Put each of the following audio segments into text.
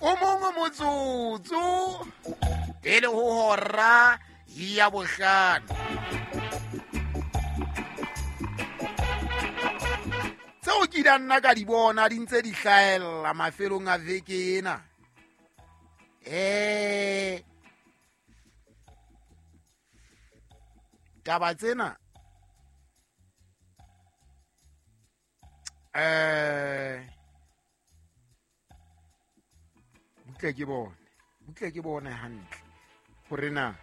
O mongwe motsotso pele ho hora ya bohlano. Tseo ke di nna ka di bona di ntse di hlahella mafelong a veke ena. Taba tsena butle ke bone hantle hore na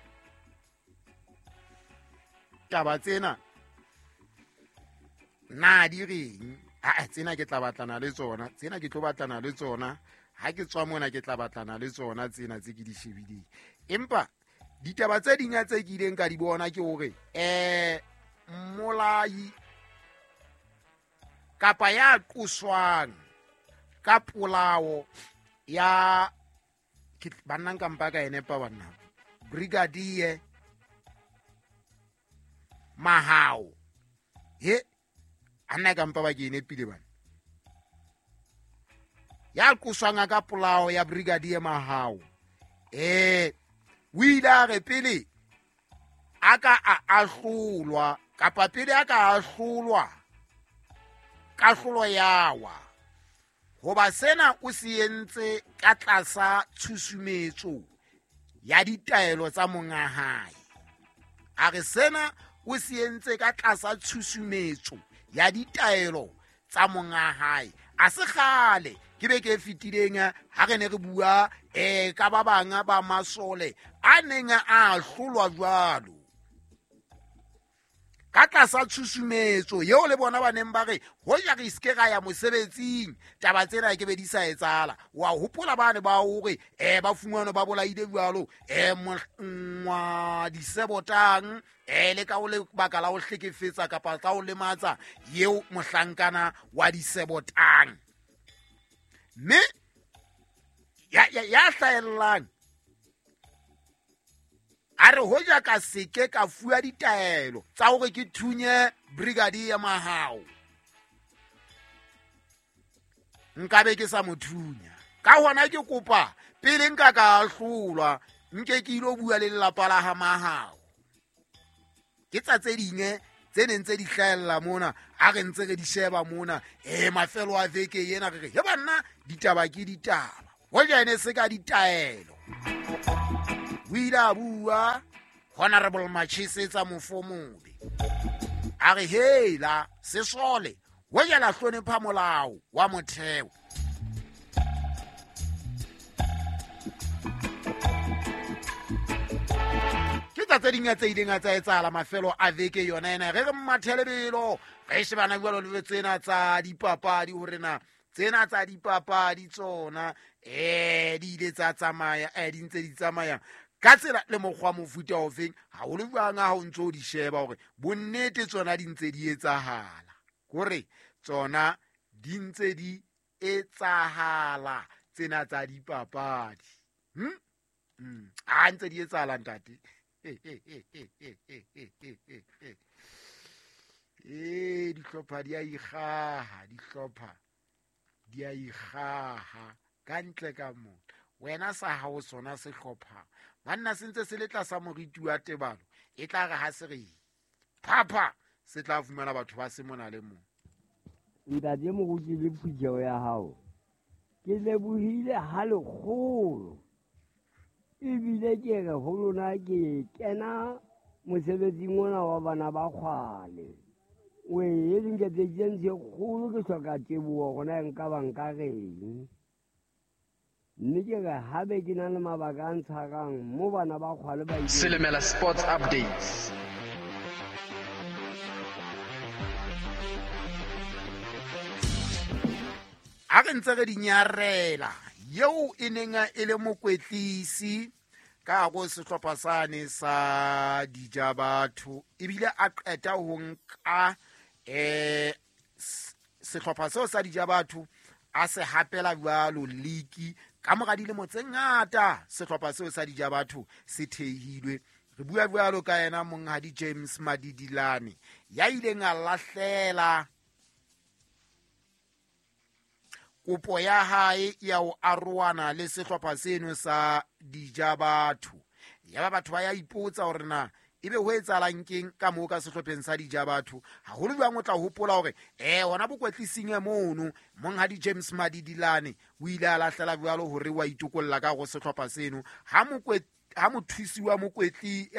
taba tsena na di reng. A tsena ke tla batlana le tsona, tsena ke tlo batlana le tsona ha ke tswa mona, ke tla batlana le tsona tsena tse ke di shebileng. Empa ditaba tse ding tse ke ileng ka di bona ke hore mmolai kapa ya qoswang ka polao ya banna nka mpa ka ene pa banna Brigadier Mahao he anna ka mpa ba ke ene pile bana ya qoswang ka polao ya Brigadier Mahao o ile a re pele a ka a ahlolwa kapa pele a ka ahlolwa kahlolo yawa hoba sena o se entse ka tlasa tshusumetso ya ditaelo tsa monga hae. A re sena o se entse ka tlasa tshusumetso ya ditaelo tsa monga hae. A se kgale ke be ke fetileng ha re ne re bua ka ba bang ba masole a neng a ahlolwa jwalo ka tlasa tshusumetso eo le bona ba neng ba re hoja re se ke ra ya mosebetsing taba tsena ke be di sa etsahala. Wa hopola ba ne ba hore ba fumanwe ba bolaile jwalo ngwa disebotang le ka o lebaka la ho hlekefetsa kapa ka ho lematsa eo mohlankana wa disebotang. Mme ya hlahellang a re hoja ka seke ka fuwa ditaelo tsa hore ke thunye Brigadier Mahao nkabe ke sa mo thunya. Ka hona ke kopa pele nka ka ahlolwa nke ke ilo bua le lelapa la ha Mahao. Ke tsa tse ding tse neng tse di hlahella mona a re ntse re di sheba mona mafelo a veke ena re re he banna ditaba ke ditaba hoja ene se ka ditaelo. O ile a bua Honorable Machesetsa Mofomobe a re hela sesole hoja la hlonepha molao wa motheo. Ke tsa tse ding tse ileng tsa etsahala mafelo a veke yona ena. Re re mmathelebelo re shebana jwalo le tsena tsa dipapadi hore na tsena tsa dipapadi tsona di ile tsa tsamaya di ntse di tsamaya ka tsela le mokgwa mofuta ofeng. Haholo jwang ha o ntso di sheba hore bonnete tsona di ntse di etsahala, kore tsona di ntse di etsahala tsena tsa dipapadi. A ntse di etsahala ntate. Dihlopha di a ikgaha, dihlopha di a ikgaha ka ntle ka mona. Wena sa hao sona sehlopha banna se ntse se le tlasa moriti wa tebalo, e tla re ha se re phapha se tla fumana batho ba se mona le mong. Ntate moruti le phutheho ya hao, ke lebohile ha lekgolo ebile ke re ho lona ke kena mosebetsing ona wa bana ba kgwale. O e dinketseditseng tse kgolo ke hloka teboho hore nka ba nka reng. Mme ke re hape ke na le mabaka a ntshwarang mo bana ba kgwale ba Selemela Sports Updates. A re ntse re di nyarela eo e neng e le mokwetlisi ka go sehlopha sane sa Dijabatho ebile a qeta ho nka sehlopha seo sa Dijabatho a se hapela jwalo league ka mora dilemo tse ngata. Sehlopha seo sa Dijabatho se thehilwe. Re bua jwalo ka yena monghadi James Madidilane ya ileng a lahlela kopo ya hae ya ho arohana le sehlopha seno sa Dijabatho. Ya ba batho ba ya ipotsa hore na ebe ho etsahalang keng ka moo ka sehlopheng sa Dijabatho. Haholo jwang o tla hopola hore hona bokwetlising mono monghadi James Madidilane o ile a lahlela jwalo hore wa itokolla ka go sehlopha seno ha mothusi wa mokwetli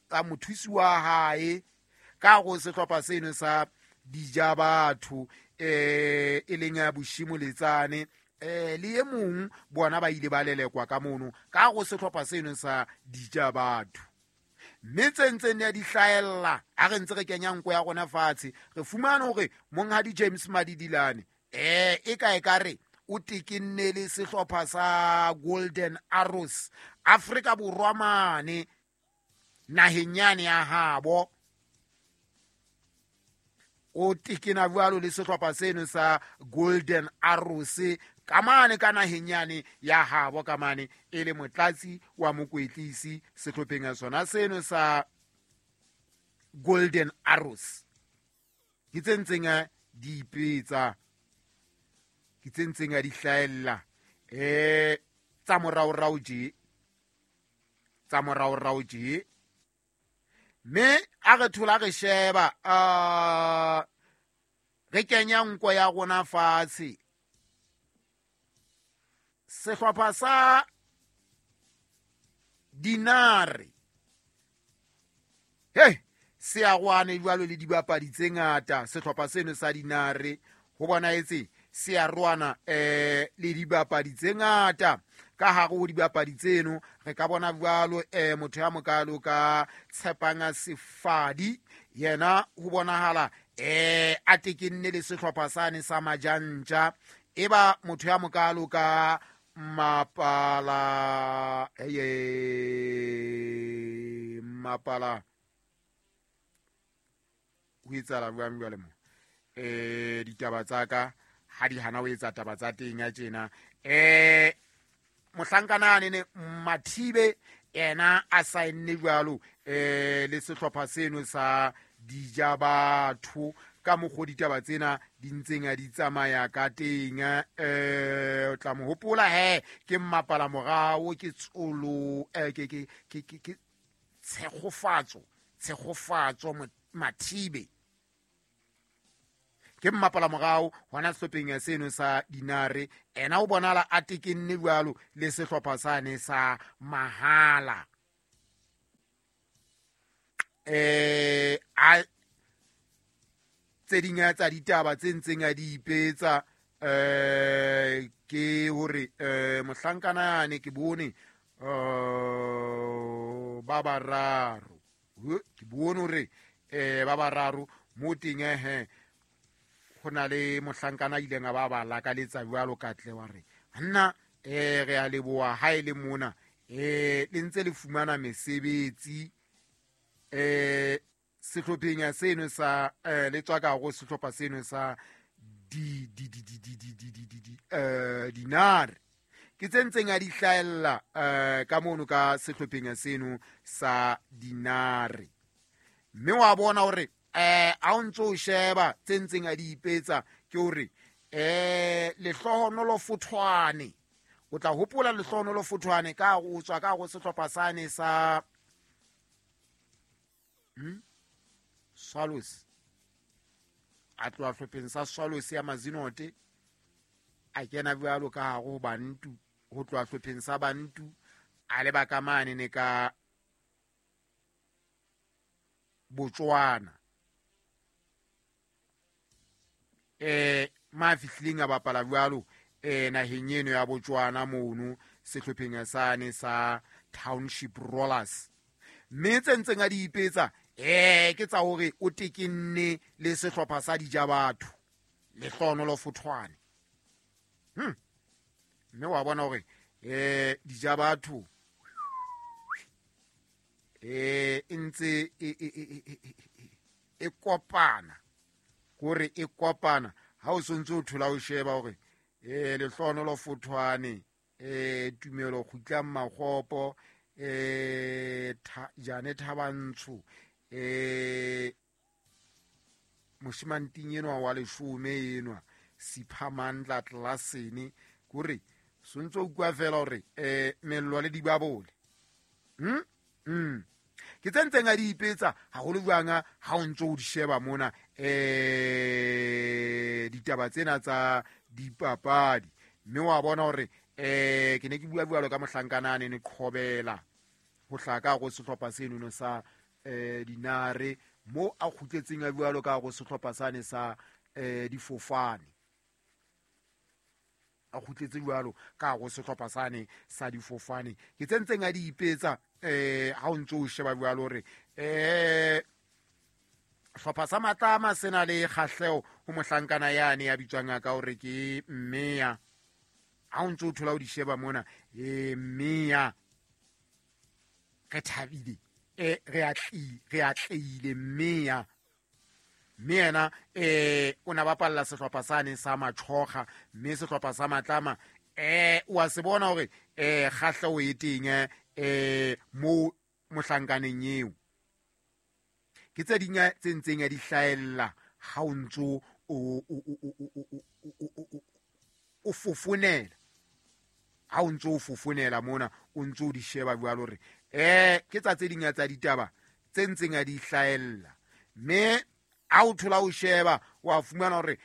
wa mothusi wa hae ka go sehlopha seno sa Dijabatho e leng ya Boshimo Letsane le e mong bona ba ile ba lelekwa ka mono ka go sehlopha seno sa Dijabatho. Mme tse ntseng ya di hlahella a re ntse re kenya nko ya rona fatshe, re fumane hore monghadi James Madidilane e ka e ka re o tekenne le sehlopha sa Golden Arrows Afrika Borwa mane naheng yane ya habo. O tekena jwalo le sehlopha seno sa Golden Arrows ka mane ka naheng yane ya habo, ka mane e le motlatsi wa mokwetlisi sehlopheng ya sona seno sa Golden Arrows. Ke tse ntseng di ipetsa, ke tse ntseng di hlahella tsa moraorao tje, tsa moraorao tje. Mme a re thola re sheba re kenya nko ya rona fatshe. Sehlopha sa Dinare se a rwane jwalo le dibapadi tse ngata. Sehlopha seno sa Dinare ho bonahetse se a rwana le dibapadi tse ngata. Ka hare ho dibapadi tseno re ka bona jwalo motho ya mokalo ka Tshepanga Sefadi, yena ho bonahala a tekenne le sehlopha sane sa Majantja. Eba motho ya mokalo ka Mapala Mapala ho etsahala jwang jwale mo ditaba tsa ka ha di hana ho etsa taba tsa teng ya tjena. Mohlankana ne Mathibe yena a saenne jwalo le sehlopha seno sa Dijabatho. Ka mokgwa ditaba tsena di ntseng a di tsamaya ka teng, o tla mo hopola he ke mmapala morao, ke tsolo ke Tshegofatso Mathibe ke mmapala morao hona sehlopheng ya seno sa Dinare. Ena o bonala a tekenne jwalo le sehlopha sane sa Mahala. A tse ding tsa ditaba tse ntseng a di ipetsa ke hore mohlankana yane ke bone ba bararo, ke bone hore ba bararo mo teng ho na le mohlankana ileng a ba ba lakaletsa jwalo katle wa re nna re a leboha ha e le mona le ntse le fumana mesebetsi sehlopheng ya seno sa le tswa ka go sehlopha seno sa di Dinare. Ke tse ntseng a di hlahella ka mono ka sehlopheng ya seno sa Dinare. Mme wa bona hore a o ntso o sheba tse ntseng a di ipetsa ke hore Lehlohonolo Fothwane, o tla hopola Lehlohonolo Fothwane ka o tswa ka go sehlopha sane sa Swallows, a tloha hlopheng sa Swallows ya Mazinote a kena jwalo ka hare ho Bantu, ho tloha hlopheng sa Bantu a leba ka mane ne ka Botswana. Ma fihlileng a bapala jwalo naheng eno ya Botswana mono sehlopheng sane sa Township Rollers. Mme tse ntseng a di ipetsa ke tsa hore o tekenne le sehlopha sa Dijabatho Lehlohonolo Fothwane. Mme wa bona hore Dijabatho e ntse e kopana, hore e kopana ha o sontse o thola o sheba hore Lehlohonolo Fothwane Tumelo Kgutlang Makgopo Jane Thabantsho moshimanting enwa wa leshome enwa Siphamandla Tlasene kore sontso o kwa fela hore mello le dibabole ke tse ntseng a di ipetsa haholo jwang ha o ntso o di sheba mona ditaba tsena tsa dipapadi mme wa bona hore ke ne ke bua jwalo ka mohlankana ne qhobela ho hlaka go sehlopha seno sa dinare mo a kgutletseng a jwalo ka go sehlopha sane sa difofane a kgutletse jwalo ka go sehlopha sane sa difofane ke tse ntseng a di ipetsa ha o ntso o sheba jwalo hore hlopha sa Matlama sena le kgahleho ho mohlankana yane ya bitswang ka hore ke Mmeya ha o ntso o thola o di sheba mona Mmeya re thabile re atleile Mmeya mme yena o na bapalla sehlopha sane sa Machoga mme sehlopha sa Matlama wa se bona hore kgahleho e teng mo mohlankaneng eo ke tse ding tse ntseng di hlaella ha o ntso o fofonela ha o ntso o fofonela mona o ntso o di sheba jwalo hore ke tsa tse ding tsa ditaba tse ntseng di hlaella mme ha o thola o sheba wa fumana hore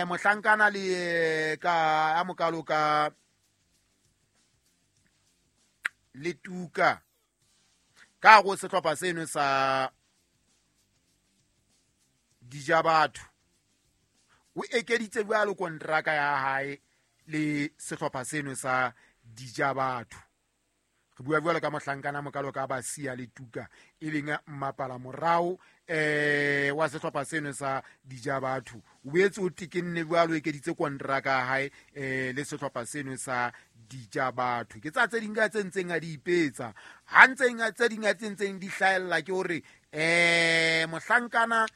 mohlankana le ka a mokalo ka le tuka ka go sehlopha seno sa Dijabatho o ekeditse jwalo kontraka ya hae le sehlopha seno sa Dijabatho re bua jwalo ka mohlankana mokalo ka Basia le Tuka e leng mmapala morao wa sehlopha seno sa Dijabatho o boetse o tekenne jwalo ekeditse kontraka ya hae le sehlopha seno sa Dijabatho ke tsa tse ding tse ntseng a di ipetsa ha ntseng tse ding tse ntseng di hlahella ke hore mohlankana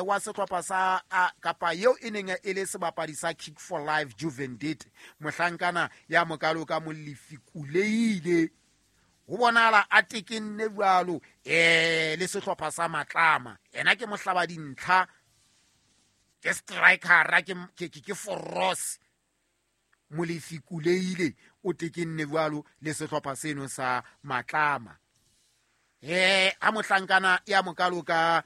wa sehlopha sa kapa eo e neng e le sebapadi sa Kick for Life Juvendit mohlankana ya mokalo ka Molefi Kuleile ho bonala a tekenne jwalo le sehlopha sa Matlama ena ke mohlaba dintlha ke strikera ke Foros Molefi Kuleile o tekenne jwalo le sehlopha seno sa Matlama a mohlankana ya mokalo ka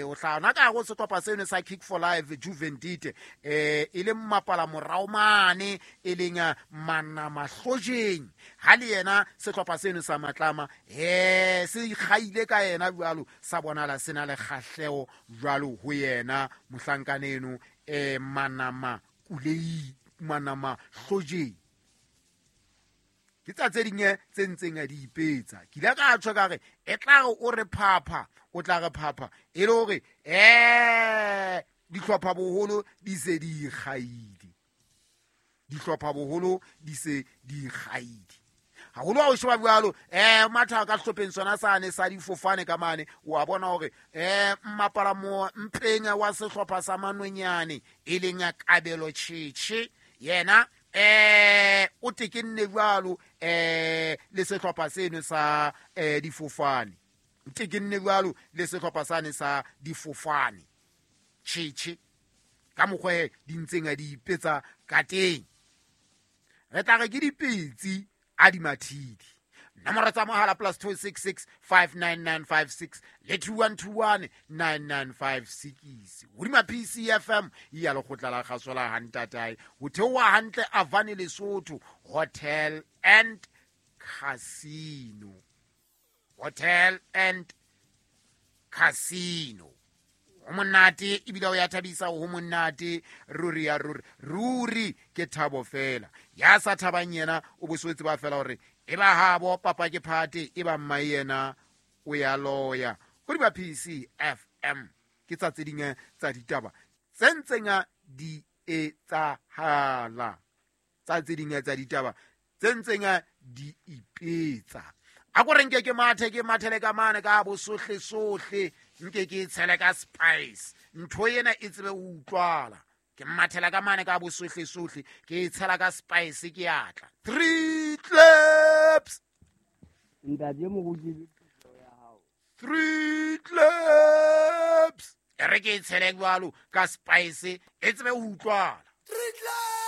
o hlana ka go sehlopha seno sa Kick for Life Juvendite e le mmapala morao mane e leng Manama Hlojeng ha le yena sehlopha seno sa Matlama se ikgaile ka yena jwalo sa bonala sena le kgahleho jwalo ho yena mohlankana eno Manama Kulei Manama Hlojeng ke tsa tse ding tse ntseng a di ipetsa ke ile ka tjho ka re e tla re o re phapha o tla re phapha e le hore dihlopha boholo di se di ikgaile dihlopha boholo di se di ikgaile haholo ha o sheba jwalo matha ka sehlopheng sona sane sa difofane ka mane wa bona hore mmapala mo mpeng wa sehlopha sa Manonyane e leng Kabelo Tjhetjhe yena o tekenne jwalo le sehlopha seno sa difofane o tekenne jwalo le sehlopha sane sa difofane Tjhetjhe ka mokgwa di ntseng a di ipetsa ka teng re tla re ke dipetsi a di mathidi nomoro tsa mohala +266 59956 le 2121 9956 hodima PCFM ya lekgotla la kgaso la Hantatae ho theoha hantle Avane Lesotho Hotel and Casino Hotel and Casino ho monate ebile o ya thabisa ho monate ruri ya ruri ruri ke thabo fela ya sa thabang yena o boswetse ba fela hore e ba habo papa ke phate e ba mma yena o ya loya go di ba PCFM ke tsa tse ding tsa ditaba tse ntseng di etsahala tsa tse ding tsa ditaba tse ntseng di ipetsa a ko re nke ke mathe ke mathele ka mane ka bo sohle sohle nke ke tshele ka spice ntho ena e tsebe ho utlwala ke mathela ka mane ka bo sohle sohle ke tshela ka spice ke atla 3 claps ntate moruti ya hao 3 claps. E re ke e tshele jwalo ka spice e tsebe ho utlwala. Re tla.